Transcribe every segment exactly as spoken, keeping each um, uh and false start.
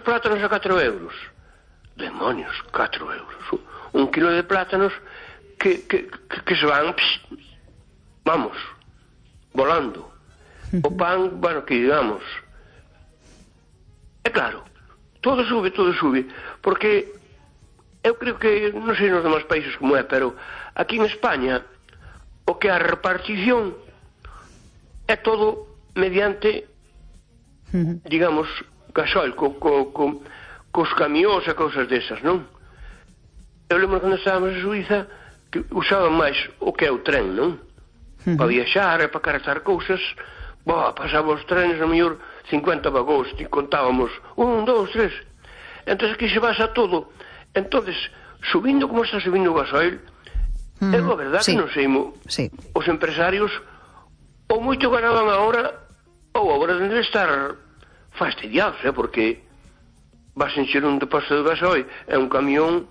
plátanos a catro euros. Demonios, catro euros. Un kilo de plátanos que, que, que, que se van, pss, vamos, volando. O pan, bueno, que digamos. É claro, todo sube, todo sube, porque eu creo que, non sei nos demais países como é, pero aquí en España o que a repartición é todo mediante, digamos, gasoil, co, co, co, cos camións e cousas desas, non? Eu lembro cando estábamos en Suiza que usaban máis o que é o tren, non? Uh-huh. Para viaxar e para carretar cousas, boa, pasábamos os trenes a mellor cincuenta vagóns e contábamos un, dous, tres. Entón aquí se basa todo. Entonces, subindo como está subindo o gasoil, uh-huh. é a verdade sí. que non sei mo, sí. os empresarios ou moito ganaban agora ou agora deben de estar fastidiados, eh, porque vas encher un depósito de gasoil e un camión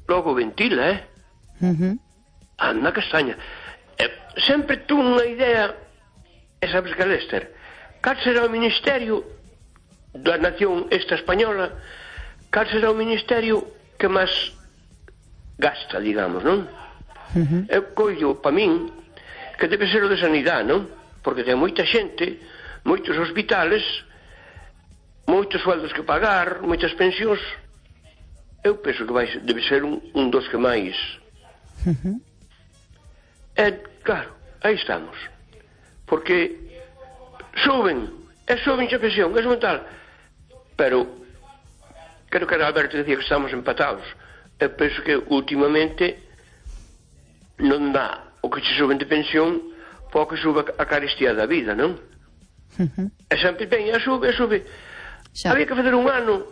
logo ventila, eh? Uh-huh. Anda castaña. Eh, sempre tuve unha idea, e sabes que, Lester, cal será o ministerio da nación esta española, cal será o ministerio que máis gasta, digamos, non? Uh-huh. Eu collo, pa min, que debe ser o de sanidade, non? Porque ten moita xente, moitos hospitales, moitos sueldos que pagar, moitas pensións. Eu penso que vai, debe ser un, un dos que máis. Uh-huh. E, claro, aí estamos. Porque suben, e suben a pensión, é mental. Pero, creo que era Alberto que decía que estamos empatados. Eu penso que últimamente non dá o que se suben de pensión para que suba a carestía da vida, non? Uh-huh. E sempre ben, e sube, e sube. Xa. Había que fazer un ano,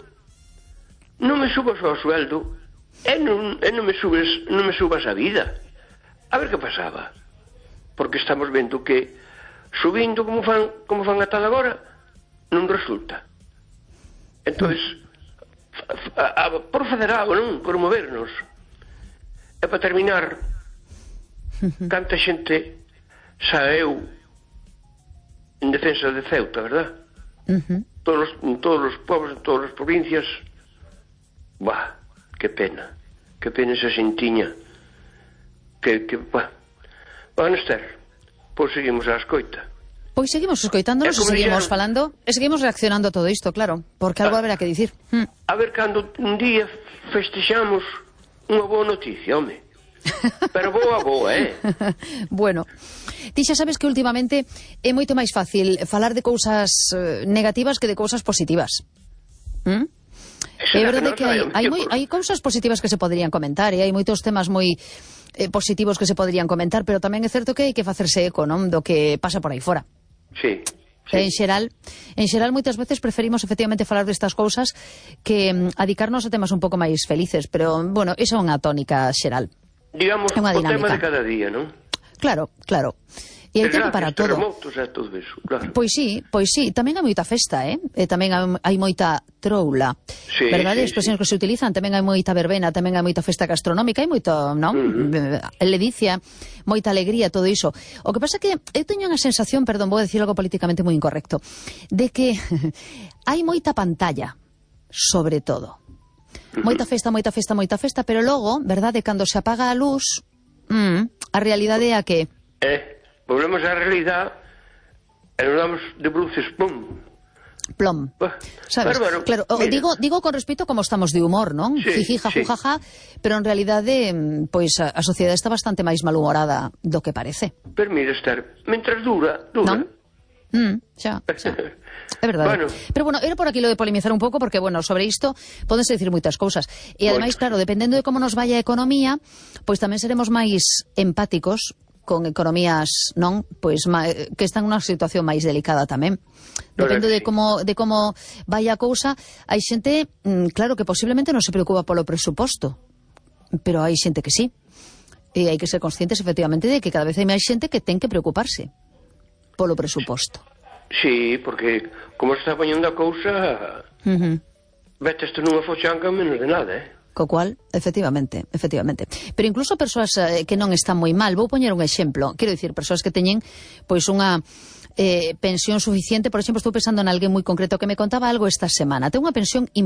non me subas ao sueldo, e non, e non me subes, non me subas a vida. A ver que pasaba. Porque estamos vendo que subindo como fan, como fan ata agora, non resulta. Entonces, a, a, por fazer algo, non? Por movernos. E para terminar, canta xente saeu en defensa de Ceuta, verdad? Uh-huh. Todos, en todos os povos, en todas as provincias. Bah, que pena. Que pena esa xentiña. Que, que, bah. Bueno, Esther, pois seguimos a escoita. Pois seguimos escoitándonos e seguimos dixeron, falando e seguimos reaccionando a todo isto, claro, porque algo ah, haberá que dicir. Hmm. A ver cando un día festexamos unha boa noticia, home. Pero boa, boa, eh? Bueno, ti xa sabes que últimamente é moito máis fácil falar de cousas eh, negativas que de cousas positivas. ¿Mm? É verdade que, que hai, hai, moi, hai cousas positivas que se poderían comentar e hai moitos temas moi eh, positivos que se poderían comentar, pero tamén é certo que hai que facerse eco, non, do que pasa por aí fora. Sí. Sí. En xeral, en xeral moitas veces preferimos efectivamente falar destas cousas que um, adicarnos a temas un pouco máis felices, pero, bueno, esa é unha tónica xeral. Digamos, o tema de cada día, non? Claro, claro. E hai tempo para todo. todo eso, claro. Pois sí, pois sí, tamén hai moita festa, eh? E tamén hai moita troula. Sí, verdade? Sí, expresións sí. que se utilizan, tamén hai moita verbena, tamén hai moita festa gastronómica, hai moito, non? Uh-huh. Ledicia, moita alegría, todo iso. O que pasa é que eu teño unha sensación, perdón, vou decir algo políticamente moi incorrecto, de que hai moita pantalla, sobre todo. Moita festa, moita festa, moita festa, pero logo, verdade, cando se apaga a luz, mm, a realidade é a que... Eh, volvemos á realidade e nos damos de bruces, pum. Plom. Bah, sabes? Bárbaro, claro, digo, digo con respecto como estamos de humor, non? Sí, Jiji, jajú, sí. jaja, pero en realidade, pois a, a sociedade está bastante máis malhumorada do que parece. Pero mira, Esther, mentras dura, dura. Non? Mm, xa, xa. É verdade. Bueno. Pero bueno, era por aquí lo de polemizar un pouco porque, bueno, sobre isto podense decir moitas cousas. E ademais, claro, dependendo de como nos vaya a economía, pois tamén seremos máis empáticos con economías, non? Pois que están nunha situación máis delicada tamén. Depende de como de como vai a cousa, hai xente, claro, que posiblemente non se preocupa polo presuposto, pero hai xente que sí. E hai que ser conscientes, efectivamente, de que cada vez hai máis xente que ten que preocuparse polo presuposto. Sí, porque como se está poñendo a cousa, uh-huh. Vetes nunha fochanga menos de nada, eh? Co cual, efectivamente, efectivamente. Pero incluso persoas eh, que non están moi mal, vou poñer un exemplo, quero dicir, persoas que teñen pois unha eh, pensión suficiente, por exemplo, estou pensando en alguén moi concreto que me contaba algo esta semana, ten unha pensión importante,